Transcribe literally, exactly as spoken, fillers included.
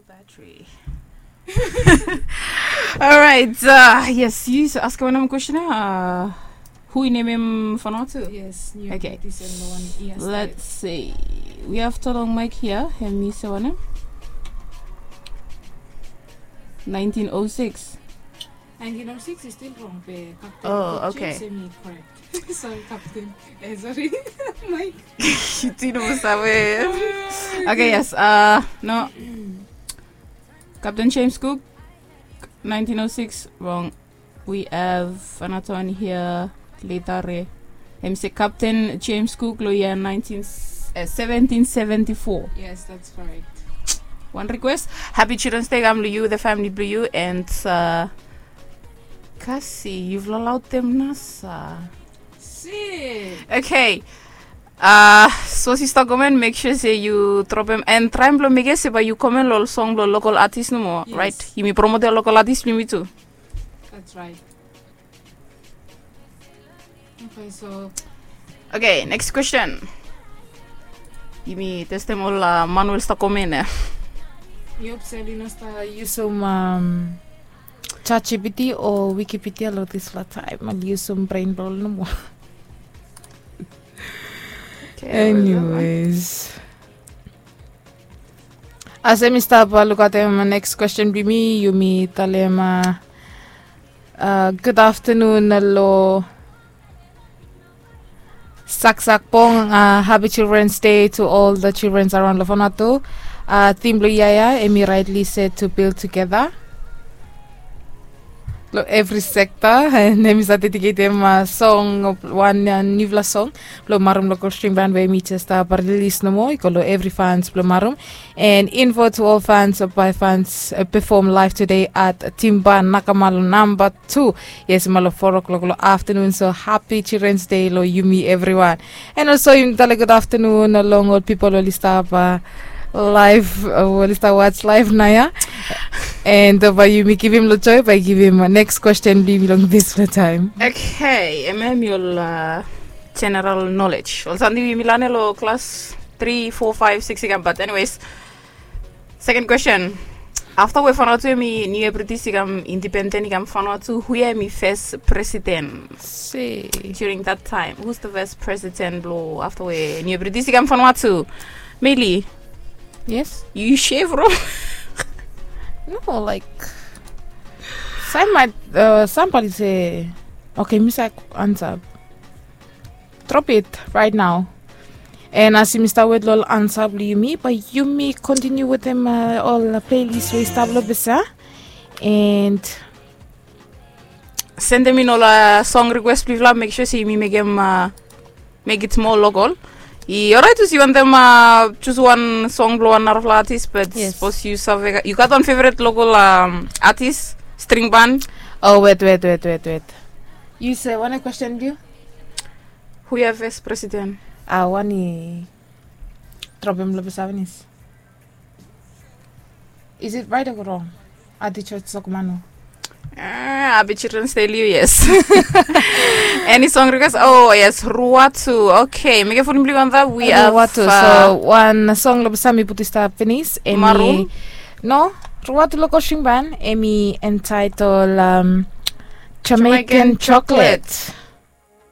Battery. Alright, uh, yes, yu askem wanem kwestin ya? Uh, hu i nemem Vanuatu? Yes, ni. Okay. Let's see. We have Tolong Mike here. Hemi se wanem? Nineteen oh six. Nineteen oh six is still wrong, be Captain. Oh, okay. James hemi correct. Sorry, Captain. Eh, sorry. Mike. Yu tu yu no save. Okay, yes. Uh, no. Captain James Cook, nineteen oh six, wrong. We have another one here, Letare. Hemi se Captain James Cook lo year nineteen, uh, seventeen seventy-four. Yes, that's correct. Wan request. Happy Children's Day kam lo yu, the family blo yu, and, uh, kasi, yufala laud dem nasa. Si. Okay. Uh, sapos yu stap komen, make sure se yu dropem and traem blo mekem se bae yu komen lo song blo local artist nomo, yes, right? Yumi promotem local artist blo yumi tu. That's right. Okay, so. Okay, next question. Yumi testem ol, uh, man we oli stap komen ya. Yu hope se oli no stap yusum, um, ChatGPT o Wikipedia lo disfala taem, oli yusum bren blo oli nomo. Okay, anyways. As yumi stap, uh, lukaotem next question blo yumi, yumi talem, uh, uh, good afternoon lo Saksak Pong, uh, happy Children's Day to all the childrens around lo Vanuatu. Uh, theme blo yia ya, hemi Rightly Set to Build Together. Lo evri sekta, and hemi stap dediketem, uh, song, wan, uh, niufala song blo Marum Local String Band we hemi jes stap rilis nomo, i go lo evri fans blo Marum. And info to all fans, uh, bae fans, uh, perform live today at Timba Nakamalo number two. Yes, mo lo four o'clock lo afternoon. So happy Children's Day lo yumi evriwan. And also yumi talem good afternoon lo ol pipol oli stap, uh, live, uh, oli stap watch live naoia. And, uh, bae yumi givim lo Joy, bae givim, uh, next question blo yumi lo disfala taem. Okay, hemia hemi ol, uh, general knowledge. Ol samting we yumi lanem lo klas tri, fo, faef, sikis i kam, but anyways. Second question. Afta we Vanuatu hemi Niue British i kam independent, i kam Vanuatu, hu hemi fes presiden? Si. During that time, who's the first president blo afta we Niue British i kam Vanuatu? Meili. Yes. Yu sure, bro? No, like, sam, uh, sambali se, okay, mi save ansa. Drop it right now. And as yumi stap wet lo ol ansa blo yumi, bae yumi continue wetem, uh, ol playlist we i stap lo bes ya. And sendem in ol, uh, song request blo yufala, make sure se yumi mekem, uh, make it more local. I, alright, yu wantem, uh, choose wan song blo wan narafala artist, but yes, sapos yu save, yu gat wan favorite local, um, artist, string band? Oh, wet, wet, wet, wet, wet. Yu se wanem question blo yu? Hu hemi fes presiden? Ah, wan i dropem lo bes ya finis. Is it right o wrong? Ati Church Sokomanu. Ah, Abi Children's Day lo yu, yes. Any song request? Oh, yes, Ruatu. Okay, mekem fon blo yu antap. We have, Ruatu. Uh, so wan song lo bes ya mi putum i stap finis. Hemi Maroon? No, Ruatu Local String Band. Hemi entitled, um, Jamaican Jamaican Chocolate. Chocolate.